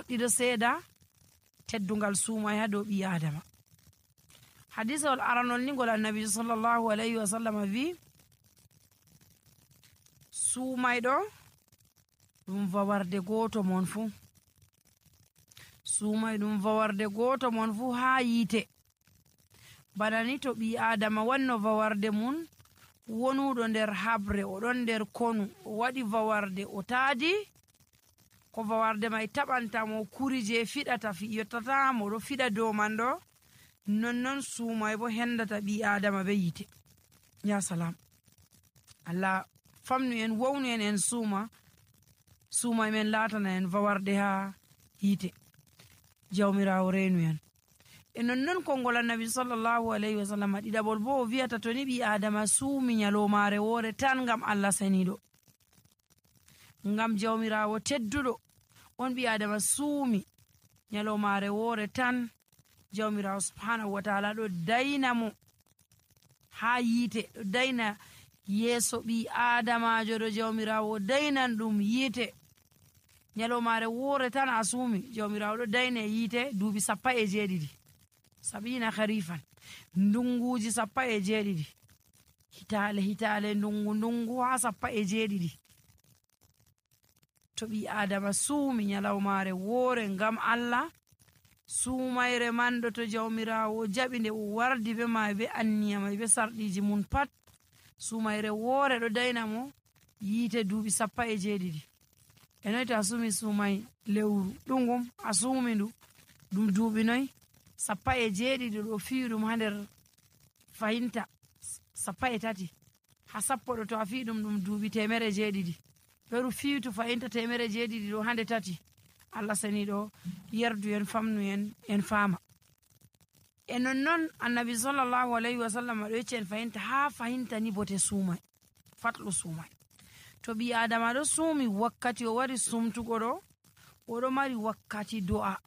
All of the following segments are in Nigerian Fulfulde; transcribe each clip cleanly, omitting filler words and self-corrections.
fuɗɗi ɗo seeda teddungal suumay ha dow ɓi adama. Hadisawol aranol ni ngol annabi sallallahu alayhi wa sallam wi suumayɗo ɗum vawarde goto mon fuu, suumay ɗum vawarde goto mon fuu ha yiite. Bana ni to ɓi adama wanno vawarde mun wonuɗo nder habre, o ɗon nder konu, o waɗi vawarde, o taadi ko vawarde may taɓantamo kuri je fiɗata yottata mo ɗo fiɗa dow man ɗo, nonnon suumay bo hendata ɓi adama be yite. Ya salam, Allah famnu en, wownu en suumay men latana en vawarde ha yite. Jawmirawo renu en. E nonnon konngol annabi sallallahu alayhi wa sallam ɗiɗaɓol bo o wiyata to ni ɓi adama suumi nyalomare wore tan ngam Allah saniɗo, ngam jawmirawo tedduɗo on ɓi adama suumi nyalomare wore tan, jawmirawo subhanahu wa ta'ala ɗo dayna mo ha yite, ɗo dayna yeso ɓi adamajo ɗo jawmirawo daynan ɗum yite. Nyalomare wore tan a suumi, jawmirawo ɗo dayna yite duuɓi 17 sabina kharifan, ndunguji 17, hitale ndungu ha 17. To ɓi adama suumi nyalomare wore ngam Allah, suumayre man ɗo to jawmirawo jaɓi nde o wardi be ma be anniya may be sarɗiji mun pat, suumayre wore ɗo dayna mo yite duuɓi 17. E noy to a suumi suumay lewru ɗungum, a suumi ndu ɗum duuɓi noy 17 ɗo fi'i ɗum ha nder fahinta 13 ha sappo ɗo to a fi'i ɗum duuɓi 600. feru fiitu fahinta 600 ɗo hande 3. Allah saniɗo yerdu en, famnu en fama. E nonnon annabi sallallahu alayhi wa sallam ɗo yecci en fahinta ha fahinta ni bote suumay, fatlu suumay. To ɓi adama ɗo suumi wakkati o wari sumtugo ɗo, oɗo mari wakkati do'a.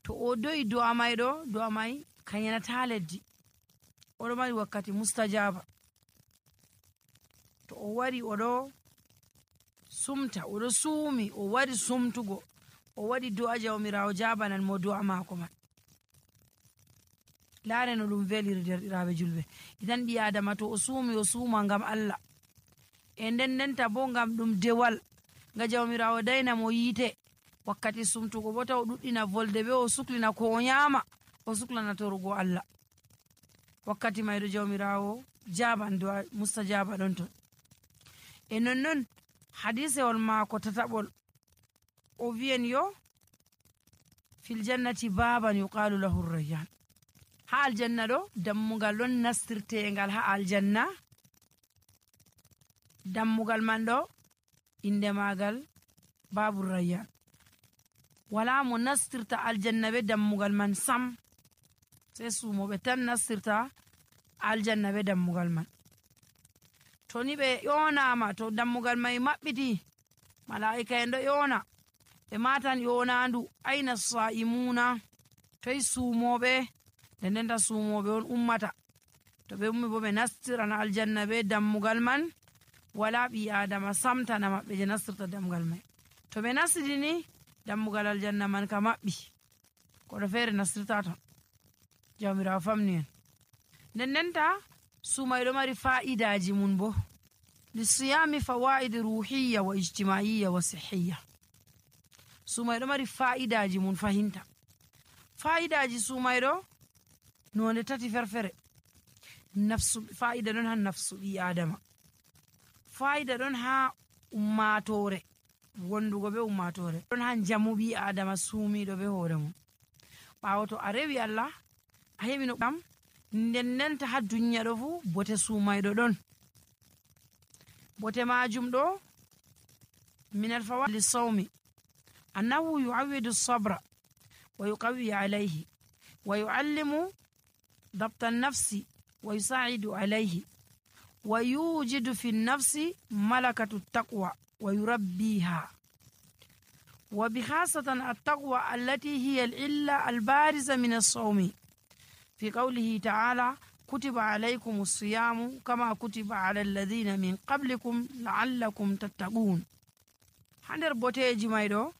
To o do'i do'a may kayanata leddi, oɗo mari wakkati mustajaba. To o wari oɗo sumta, oɗo suumi, o wari sumtugo, o waɗi do'a, jawmirawo jabanan mo do'a mako man. Laare no ɗum veliri derɗiraɓe julɓe. Idan ɓi adama to o suumi, o suuma ngam Allah, e ndendenta bo ngam ɗum dewal, nga jawmirawo dayna mo yite. Wakkati sumtugo bo taw ɗuɗɗina volde be o suklina ko o nyama, o suklana torugo Allah. Wakkati mayɗo jawmirawo jaban do'a mustajaba ɗon ton. E nonnon hadisewol maako tataɓol o wiyen yo fil jannati baban yuqalu lahu rayyan. Ha aljanna ɗo dammugal ɗon nastirtengal ha aljanna. Dammugal man ɗo inde magal babu rayyan. Wala mo nastirta aljanna be dammugal man sam, sai sumoɓe tan nastirta aljanna be dammugal man. To ni ɓe yonama, to dammugal mai maɓɓiti, malaika en ɗo yona, ɓe matan yonandu aina sa'imuna, toy sumoɓe, ndendenta sumoɓe on ummata. To ɓe ummi bo ɓe nastirana aljanna be dammugal man, wala ɓi adama samtana maɓɓe je nastirta dammugal mai. To ɓe nasrini dammugal aljanna man ka maɓɓi, koɗo feere nastirta ton. Jawmirawo famni en. Ndendenta sumayɗo mari fa'idaji mun bo, lisiyami fawaid ruhiyya wa ijtima'iyya wa sihhiyya. Sumayɗo mari fa'idaji mun fahinta. Fa'idaji sumayɗo nonde 3 ferfere. Nafsu, fa'ida ɗon ha nafsu ɓi adama, fa'ida ɗon ha ummatore, wondugo be ummatore, ɗon ha jamu ɓi adama suumiɗo be hoore mum. ɓawo to a rewi Allah a heɓi no ɗam, ndendenta ha duniya ɗo fu bote sumayɗo ɗon. bote majum ɗo min alfawaid lisawmi annahu yu'awwidu sabra wa yuqawwi alayhi wa yu'allimu ضبط النفس ويساعد عليه ويوجد في النفس ملكة التقوى ويربيها، وبخاصة التقوى التي هي العلة البارزة من الصوم، في قوله تعالى كتب عليكم الصيام كما كتب على الذين من قبلكم لعلكم تتقون. هندر بوتيجي مايدو